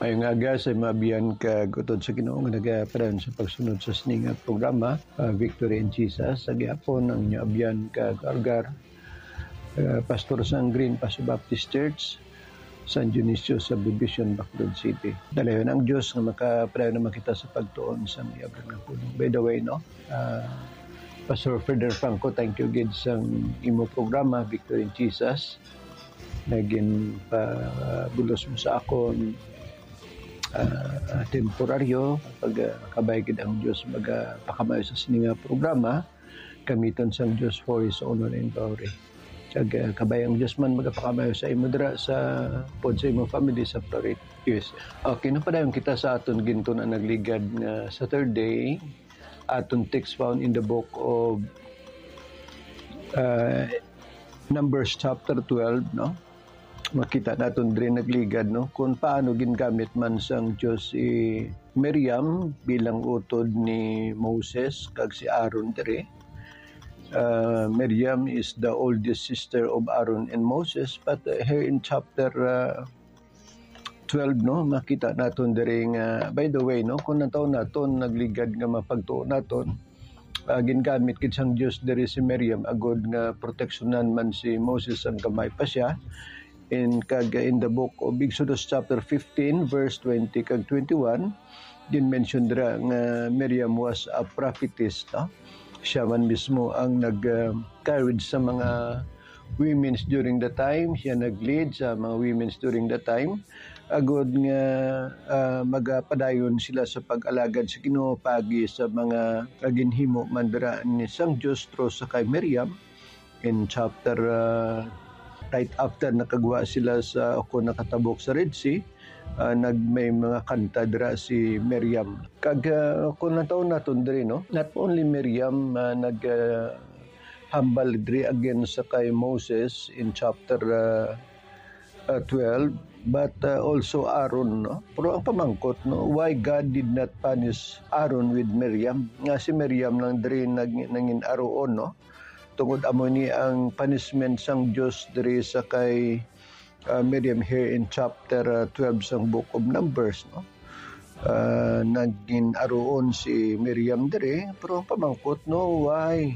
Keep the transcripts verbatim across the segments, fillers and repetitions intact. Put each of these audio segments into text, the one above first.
Mayong aga sa mga abyan kag utod sa Ginoo nga nagapadayon sa pagsunod sa sini nga programa, ah, Victory in Jesus. Sa gihapon ang inyo abyan kag algar, ah, pastor sang Green Paso Baptist Church, San Dionisio Subdivision, Bacolod City. Dalayon ang Dios nga makapadayon naman kita sa pagtuon sa iya balaang pulong. By the way, no, ah, Pastor Frederick Franco, thank you gid sang imo programa, Victory in Jesus, nga ginpabulos mo sa akon, ah, temporaryo. Pag, ah, kabay gid ang Dios magapakamayo sa sini nga programa, gamiton sang Dios for His honor and glory. Kag, ah, kabay ang Dios man magapakamayo sa imo dira sa, pod sa imo family sa Florida, U S. Okay, napadayon kita sa aton gintun-an nagligad nga Saturday. Aton text found in the book of, uh, Numbers chapter twelve, no? Makita naton diri nagligad, no, kung paano gingamit man sang Dios si Miriam bilang utod ni Moses kag si Aaron diri. Uh, Miriam is the oldest sister of Aaron and Moses, but, uh, here in chapter, uh, twelve, no, makita naton diri nga, by the way, no, kung nataw naton nagligad nga mapagtuo naton, ah, gingamit gid sang Dios diri si Miriam agud nga proteksyonan man si Moses sang gamay pa siya. In, kag in the book of Exodus chapter fifteen, verse twenty kag twenty-one, gin-mention dira nga Miriam was a prophetess, no? Siya man mismo ang nag, ah, encourage sa mga women's during the time. Siya nag-lead sa mga women's during the time, agud nga, ah, magapadayon sila sa pag-alagad sa Ginoo paagi sa mga ginhimo man dira ni sang Dios through sa kay Miriam. In chapter, ah, right after nakagwa sila sa, o kon nakatabok sa Red Sea, ah, nag-, may mga kanta dira si Miriam. Kag, ah, kung nataw naton diri, no, not only Miriam, ah, nag, ah, hambal diri against sa kay Moses in chapter, ah, ah, twelve, but, ah, also Aaron, no? Pero ang pamangkot, no, why God did not punish Aaron with Miriam? Nga si Miriam lang diri nag-, nangin-aruon, no? Tungod amo ni ang punishment sang Dios diri sa kay, ah, Miriam here in chapter, ah, twelve sang book of Numbers, no? Ah, nagin-aruon si Miriam diri, pero ang pamangkot, no, why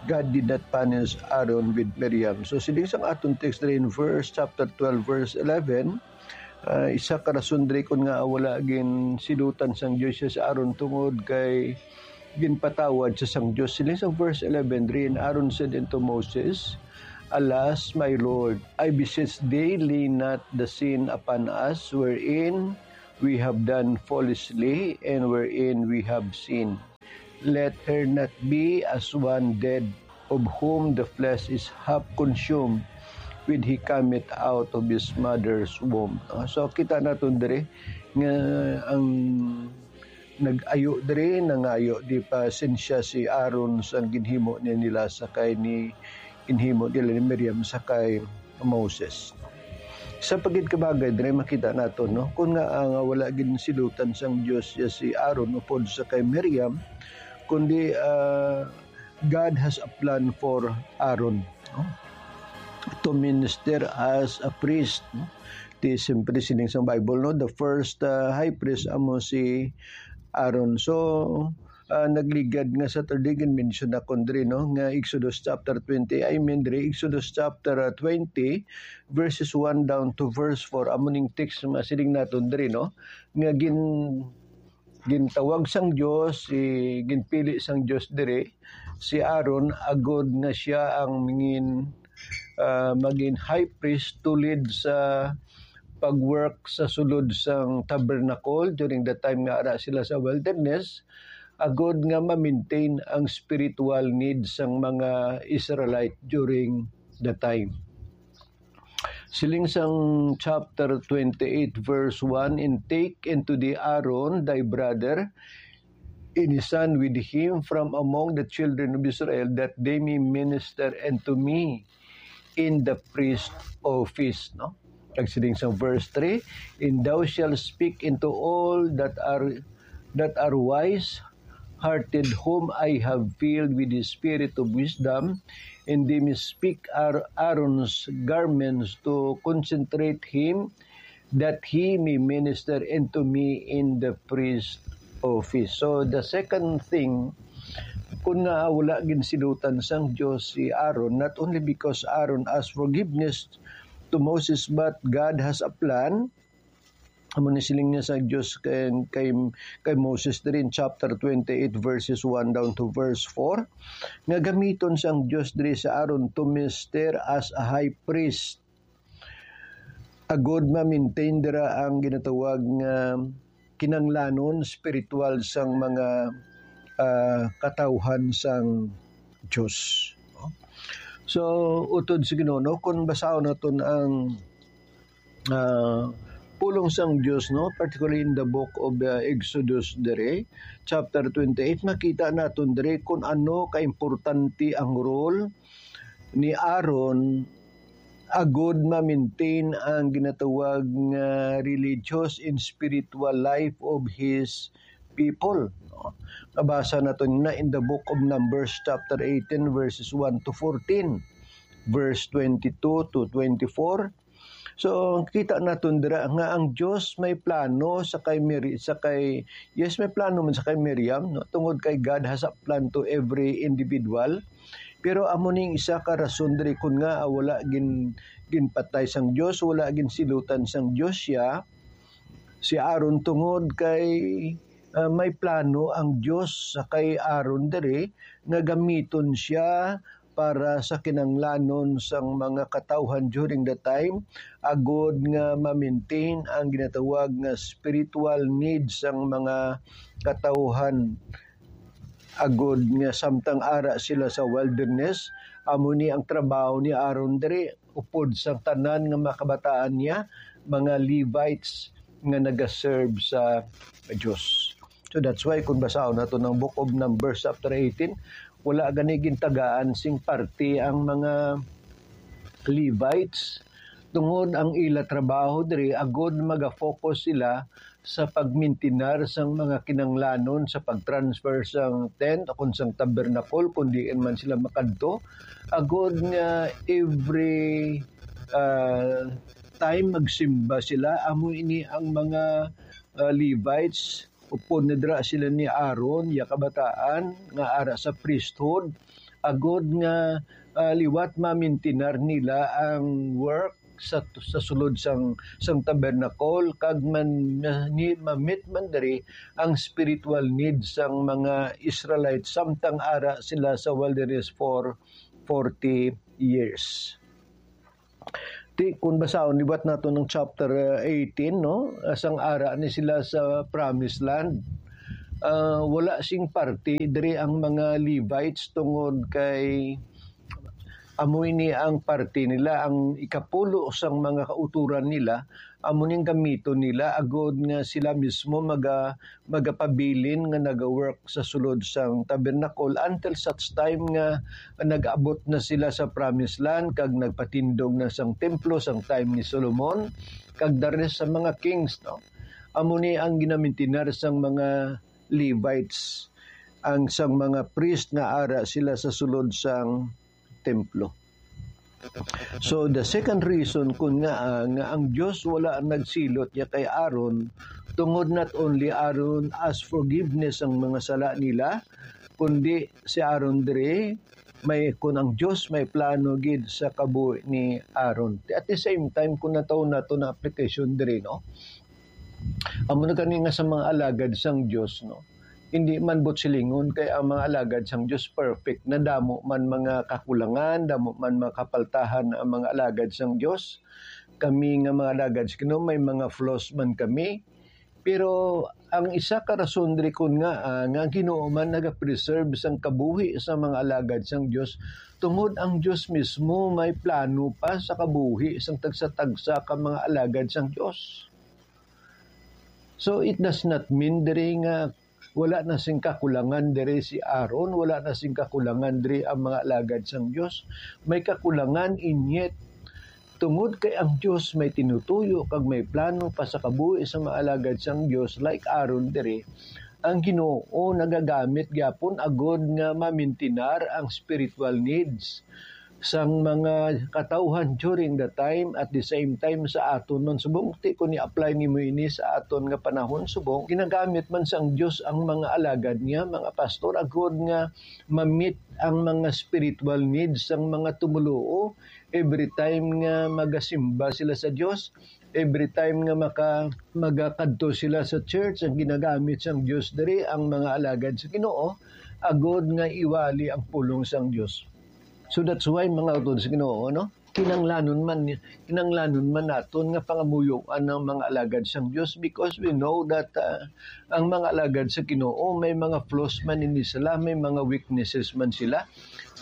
God did not punish Aaron with Miriam? So, siling sang aton text diri in verse, chapter twelve, verse eleven, ah, isa ka rason diri kun nga wala ginsilutan sang Dios si Aaron tungod kay ginpatawad sa sang Dios. Siling sang verse eleven diri, "And Aaron said unto Moses, Alas, my Lord, I beseech thee, lay not the sin upon us wherein we have done foolishly and wherein we have sinned. Let her not be as one dead, of whom the flesh is half consumed, when he cometh out of his mother's womb." Ah, so, kita naton diri nga ang nag-ayo diri, nangayo di pasensya si Aaron sa ginhimo ni nila sa kay ni, ginhimo nila ni Miriam sa kay Moses. Sa pagid kabagay diri makita nato, no, kun nga, ah, nga wala ginsilutan sang Dios ya si Aaron upod sa kay Miriam, kundi, ah, God has a plan for Aaron, no? To minister as a priest, no? Di siyempre siling sang Bible, no? The first, uh, high priest amo si Aaron. So, uh, nagligad nga Saturday, gin-mention na kon diri, no? Nga Exodus chapter twenty, I mean, diri, Exodus chapter, uh, twenty, verses one down to verse four. Amo ning text nga siling naton diri, no? Nga gin-, gintawag sang Dios, si, ginpili sang Dios diri si Aaron agud nga sia ang mangin-, ah, magin high priest to lead sa pag-work sa sulod sang tabernacle during the time nga ara sila sa wilderness, agud nga ma-maintain ang spiritual needs sang mga Israelite during the time. Siling sang chapter twenty-eight, verse one, "And take unto thee Aaron thy brother, and his son with him from among the children of Israel, that they may minister unto me in the priest office," no? Kag siling sang verse three, "And thou shalt speak unto all that are, that are wise, hearted, whom I have filled with the spirit of wisdom, and they may speak Aar-, Aaron's garments to concentrate him, that he may minister unto me in the priest office. So, the second thing, kun nga wala ginsilutan sang Dios si Aaron, not only because Aaron asked forgiveness to Moses, but God has a plan. Amo ni siling niya sa Dios kay, kay, kay Moses diri in chapter twenty-eight, verses one down to verse four, nga gamiton sang Dios diri si Aaron to minister as a high priest, agud ma-maintain dira ang ginatawag nga kinanglanon spiritual sang mga, ah, katawhan sang Dios. So, utod sa Ginoo, no, kung basahon naton ang, ah, pulong sang Dios, no, particularly in the book of, ah, Exodus diri, chapter twenty-eight, makita naton diri kung ano kaimportante ang role ni Aaron agud ma-maintain ang ginatawag nga religious and spiritual life of his people, no? Nabasa nato na in the book of Numbers, chapter eighteen, verses one to fourteen, verse twenty-two to twenty-four. So, kita naton dira nga ang Dios may plano sa kay Miri-, sa kay, yes, may plano man sa kay Miriam, no? Tungod kay God has a plan to every individual. Pero amo ning isa ka rason diri kun nga, ah, wala gin-, ginpatay sang Dios, wala ginsilutan sang Dios siya, si Aaron, tungod kay, ah, may plano ang Dios sa kay Aaron diri nga gamiton siya para sa kinanglanon sang mga katawhan during the time, agud nga ma-maintain ang ginatawag nga spiritual needs sang mga katawhan, agud nga samtang ara sila sa wilderness, amo ni ang trabaho ni Aaron diri, upod sang tanan nga mga kabataan niya, mga Levites nga nagaserve sa Dios. So that's why kung basahon nato ang Book of Numbers chapter eighteen, wala gani gintagaan sing parte ang mga Levites, tungod ang ila trabaho diri agud maga-focus sila sa pagmintinar sang mga kinanglanon sa pag-transfer sang tent o kon sang tabernacle, kung diin man sila makadto, agud nga every, ah, time magsimba sila. Amo ini ang mga, ah, Levites, upod na dira sila ni Aaron, iya kabataan, nga ara sa priesthood, agud nga, ah, liwat mamintinar nila ang work sa, sa sulod sang, sang tabernacle, kag man, ni, ma-meet man diri ang spiritual need sang mga Israelites samtang ara sila sa wilderness for forty years. Ti, kung basahon, liwat nato ng chapter, uh, eighteen, no? Sang ara ni sila sa promised land. Uh, wala sing parte diri ang mga Levites tungod kay amo ini ang parte nila, ang ikapulo sang mga kauturan nila, amo ning gamiton nila agud nga sila mismo maga-, magapabilin nga naga-work sa sulod sang tabernacle until such time nga nag-abot na sila sa promised land kag nagpatindog na sang templo sang time ni Solomon kag the rest sa mga kings, no? Amo ni ang ginamintinar sang mga Levites, ang sang mga priest nga ara sila sa sulod sang templo. So, the second reason kun nga, ah, nga ang Dios wala nagsilot ya kay Aaron, tungod not only Aaron ask forgiveness ang mga sala nila, kundi si Aaron diri may, kun ang Dios may plano gid sa kabuhi ni Aaron. At the same time, kun nataw nato na application diri, no? Amo na gani nga sa mga alagad sang Dios, no? Hindi man buot silingon kay ang mga alagad sang Dios perfect na, damo man mga kakulangan, damo man mga kapaltahan ang mga alagad sang Dios. Kami nga mga alagad sa Ginoo, may mga flaws man kami. Pero ang isa ka rason diri kun nga, ah, nga ang Ginoo man nagapreserve sang kabuhi sa mga alagad sang Dios, tungod ang Dios mismo may plano pa sa kabuhi sang tagsa-tagsa ka mga alagad sang Dios. So, it does not mean diri nga wala na sing kakulangan diri si Aaron, wala na sing kakulangan diri ang mga alagad sang Dios. May kakulangan, and yet, tungod kay ang Dios may tinutuyo kag may plano pa sa kabuhi sa mga alagad sang Dios, like Aaron diri, ang Ginoo nagagamit gyapon agud nga mamintinar ang spiritual needs. sang mga katawhan during the time, at the same time sa aton man subong. Ti kun i-apply nimo ini sa aton nga panahon subong, ginagamit man sang Dios ang mga alagad niya, mga pastor, agod nga ma-meet ang mga spiritual needs sang mga tumuluo. Every time nga magasimba sila sa Dios, every time nga maka-, magakadto sila sa church, ang ginagamit sang Dios diri ang mga alagad sa Ginoo, agod nga iwali ang pulong sang Dios. So that's why, mga utod sa Ginoo, no? Kinanglanon man, kinanglanon man naton nga pangamuyoan ang mga alagad sang Dios, because we know that, ah, ang mga alagad sa Ginoo may mga flaws man ini sila, may mga weaknesses man sila.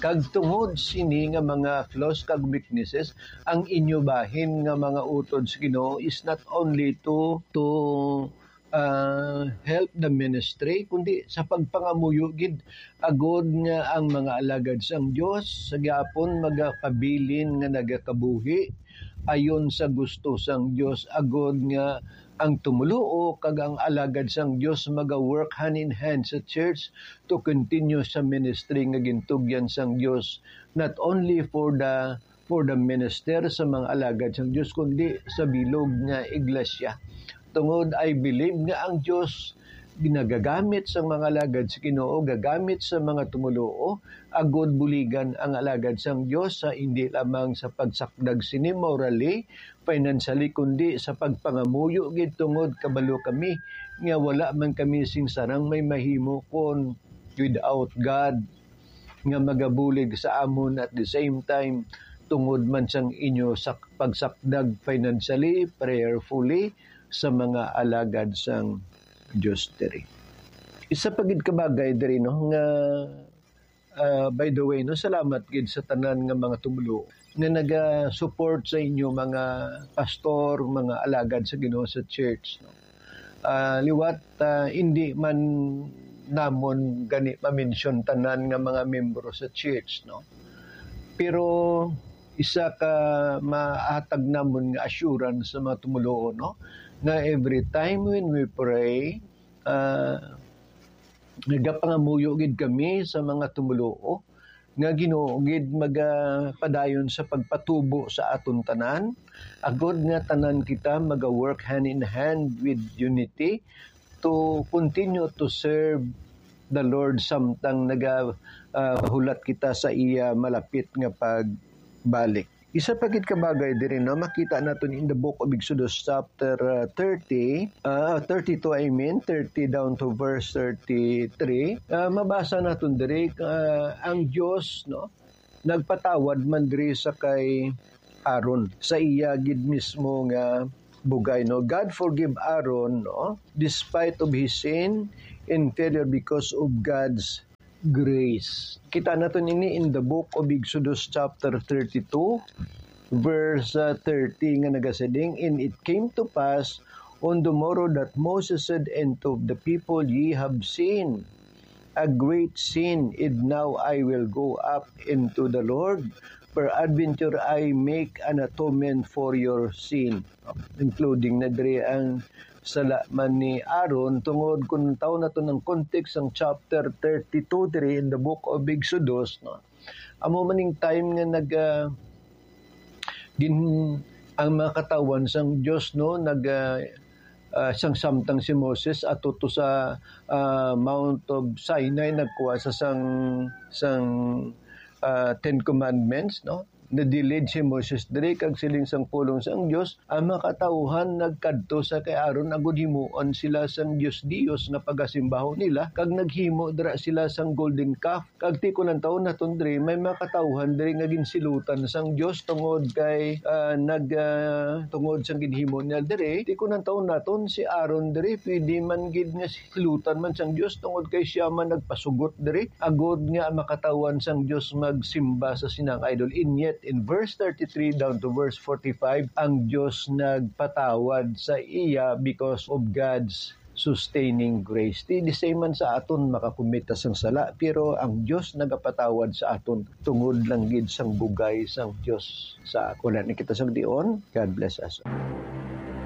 Kag tungod sini nga mga flaws kag weaknesses, ang inyo bahin nga mga utod sa Ginoo is not only to, to, ah, help the ministry, kundi sa pagpangamuyo gid, agod nga ang mga alagad sang Dios sa gihapon magapabilin nga nagakabuhi ayon sa gusto sang Dios, agod nga ang tumuluo kag ang alagad sang Dios maga-work hand in hand sa church to continue sa ministry nga gintugyan sang Dios, not only for the, for the minister, sa mga alagad sang Dios, kundi sa bilog nga iglesia. Tungod, I believe nga ang Dios ginagagamit sa mga alagad sa Ginoo, gagamit sa mga tumuluo, agod buligan ang alagad sang Dios sa, hindi lamang sa pagsakdag sini morally, financially, kundi sa pagpangamuyo gid, tungod kabalo kami nga wala man kami sing sarang may mahimo kon without God nga magabulig sa amon, at the same time, tungod man sang inyo sak-, pagsakdag financially, prayerfully, sa mga alagad sang Dios diri. Isa pa gid ka bagay diri, no, nga, ah, by the way, no, salamat gid sa tanan nga mga tumuluo nga naga-support sa inyo, mga pastor, mga alagad sa Ginoo sa church, no. Ah, liwat, ah, hindi man namon gani ma-mention tanan nga mga membro sa church, no. Pero isa ka mahatag namon nga assurance sa mga tumuluo, no, nga every time when we pray, ah, nagapangamuyo gid kami sa mga tumuluo nga Ginoo gid magapadayon sa pagpatubo sa aton tanan, agod nga tanan kita maga-work hand in hand with unity to continue to serve the Lord samtang naga, ah, hulat kita sa iya malapit nga pagbalik. Isa pa gid ka bagay diri, no, makita naton in the book of Exodus chapter, uh, thirty, uh, thirty-two, I mean, thirty down to verse thirty-three. Uh, mabasa naton diri, uh, ang Dios, no, nagpatawad man diri sa kay Aaron, sa iya gid mismo nga bugay, no. God forgive Aaron, no, despite of his sin and failure because of God's grace. Kita naton ini in the book of Exodus chapter thirty-two, verse, uh, thirty, nga nagasiling, "And it came to pass on the morrow that Moses said unto the people, Ye have sinned a great sin, and now I will go up unto the Lord, peradventure I make an atonement for your sin." Including na diri ang sala man ni Aaron, tungod kung taw naton ang context sang chapter thirty-two diri in the book of Exodus, no? Amo man ning time nga nag, ah, gin-, ang mga katawhan sang Dios, no, nag, ah, ah, sang samtang si Moses ato to sa, ah, Mount of Sinai, nagkuha sa sang, sang, ah, Ten Commandments, no? Nadilid si Moses diri, kag siling sang pulong sang Dios, ang mga katawuhan nagkadto sa kay Aaron agud himuon sila sang dios-dios nga pagasimbahon nila, kag naghimo dira sila sang golden calf. Kag ti ko lang taon naton diri, may mga katawuhan diri nga ginsilutan sang Dios tungod kay, ah, nag, ah, tungod sang ginhimo nila diri. Ti ko lang taon naton si Aaron diri, pwede man gid nga silutan man sang Dios tungod kay sia man nagpasugot diri, agud nga ang mga katawuhan sang Dios magsimba sa sinang idol. And yet, in verse thirty-three down to verse forty-five, ang Dios nagpatawad sa iya because of God's sustaining grace. Ti the same man sa aton, makakumit ta sang sala, pero ang Dios nagapatawad sa aton tungod lang gid sang bugay sang Dios sa aton. Wala na kita sang dion. God bless us.